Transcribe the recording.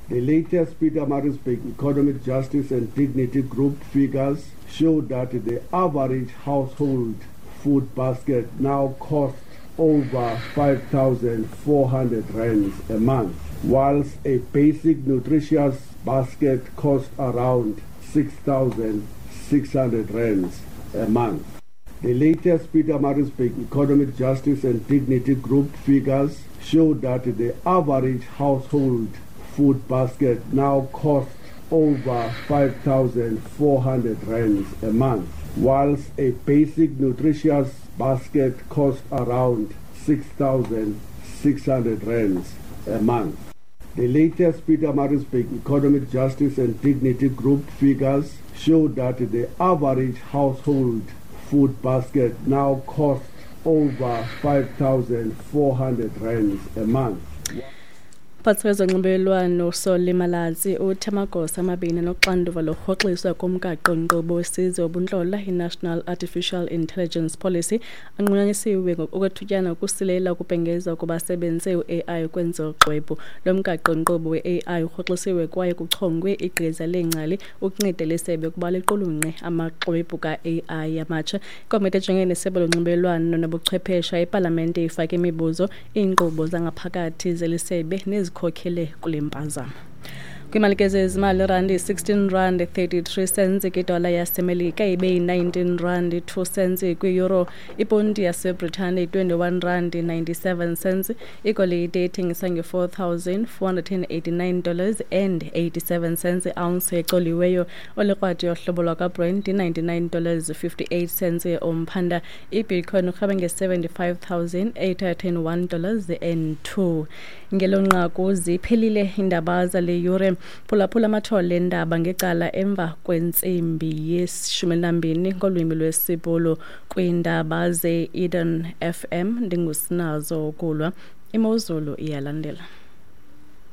The latest Pietermaritzburg Economic Justice and Dignity Group figures show that the average household food basket now costs over 5,400 rands a month, whilst a basic nutritious basket costs around 6,600 rands a month. The latest Pietermaritzburg Economic Justice and Dignity Group figures show that the average household food basket now costs over 5,400 rands a month, whilst a basic nutritious basket costs around 6,600 rands a month. The latest Pietermaritzburg Economic Justice and Dignity Group figures show that the average household food basket now costs over 5,400 rands a month. Phantsi kwezonxibelelwano uSolly Malatsi uthi amagosa amabini anoxanduva lokurhoxiswa komgaqo-nkqubo wesizwe wobuntlola, i-National Artificial Intelligence Policy, anqunyanyisiwe okwethutyana ukusilela ukubhengeza ukuba asebenzise u-AI ukwenza uxwebhu. Lo mgaqo-nkqubo we-AI urhoxisiwe kwaye kuchongwe igqiza leengcali ukunceda lisebe ukuba liqulunqe amaxwebhu ka-AI amatsha. Ikomiti ejongene nesebe lonxibelelwano nobuchwephesha epalamente ifake imibuzo iinkqubo zangaphakathi zelisebe nezikhokhele kule mpazamo. Kwimali ke zezimali, irandi yi-16 rand 33 cents kwidola yaseMelika, ibe yi-19 rand 2 cents kwi-euro, iponti yaseBritane yi-21 rand 97 cents, igolide ithengiswa nge-$4,489 and 87 cents i-ounce ecoliweyo, olikrwadi yohlobo lwakwaBrent yi-99 dollars 58 cents umphanda, ibitcoin urhweba nge-$75,801 dollars and 2. Ngelo nqaku ziphelile iindaba zale yure. Phulaphula amathole endaba ngecala emva kwentsimbi yeshumi elinambini ngolwimi lwesiBhulu kwiindaba ze-Eden FM. Ndingusinazo Kulwa. Imozulu iyalandela.